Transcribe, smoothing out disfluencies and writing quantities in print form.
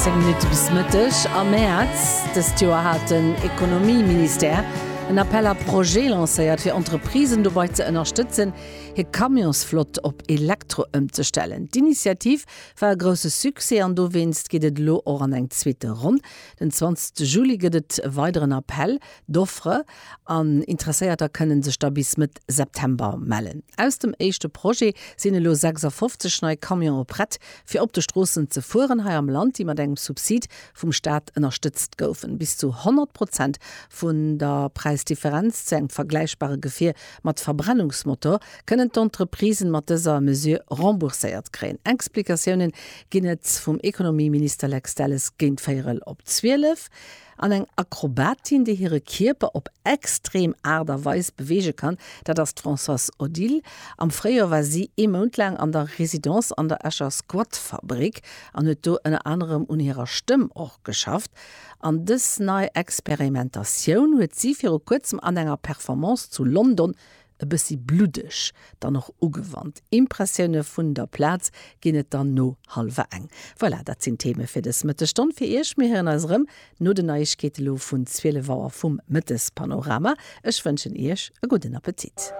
10 Minutte bis Mëtteg. Am Mäerz dëst Joer hat den Ekonomieministère en Appel à projets lancéiert, fir Entreprisen dobei ze ënnerstëtzen, hir Camionsflott op Elektro ëmzestellen. D'Initiativ war e grousse Succès an dowéinst geet et elo och an eng zweete Ronn. Den 20 Juli gëtt et e weideren Appel d'offres an Interesséierter kënnen sech da bis Mëtt September mellen. Aus dem éischte Projet sinn elo 56 nei Camionë prett fir op de Stroossen ze fueren hei am Land, déi mat engem Subsid vum Staat ënnerstëtzt goufen. Bis zu 100 Prozent vun der Präisdifferenz zu engem vergläichbare Gefier mat Verbrennungsmotor kënnen d'Entreprisen mat dëser Mesure rembourséiert kréien. Explikatiounen ginn et vum Ekonomieminister Lex Delles géint véierel op 12. An eng Akrobatin, déi hire Kierper op extrem Aart a Weis beweege kann, dat ass d'Françoise Odile. Am Fréijoer war si ee Mount laang an der Residence an der Escher Squatfabrik an huet do ënner anerem un hirer Stëmm och geschafft. An dës nei Experimentatioun huet si viru kuerzem an enger Performance zu London e bëssi bluddeg dann och ugewannt. Impressioune vun der Plaz ginn et dann no hallwer eng. Voilà, dat sinn d'Theme fir dës Mëttesstonn fir Iech. Mir héieren eis erëm no den Neiegkeete lo vun 12 Auer vum Mëttespanorama. Ech wënschen Iech e gudden Appetit.